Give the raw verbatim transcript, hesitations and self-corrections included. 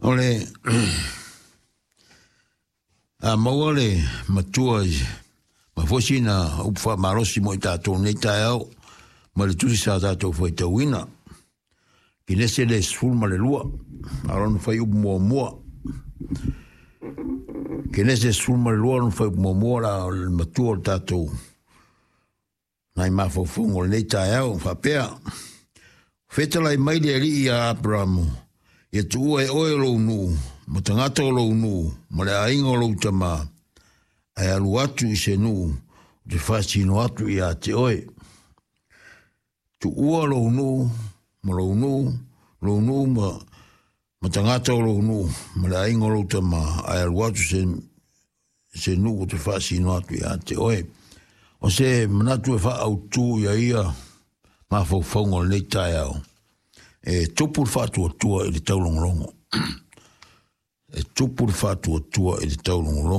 O le a maua le matua i ma foi sina upu faamalosi mo i tatou nei taeao ma le tusi sa tatou faitauina. Kenese le sefulu ma le lua, a o lona fuaiupu muamua. Kenese sefulu ma le lua lona fuaiupu muamua la o le matua o le tatou nai mafaufauga o lenei taeao faapea, fetalai mai le Alii ia Aperamo, ia tuua e oe lou nuu, ma tagata o lou nuu, ma le aiga o lou tama, ae alu atu i se nuu, ou te faasino atu ia te oe. Tuua lou nuu, ma lou nuu, lou nuu ma, ma tagata o lou nuu, ma le aiga o lou tama, ae alu atu se, se nuu ou te faasino atu ia te oe. O se manatu e faaautu ia ia mafaufauga o lenei taeao, e tupu le faatuatua i le taulogologo. E tupu le faatuatua i le taulogologo.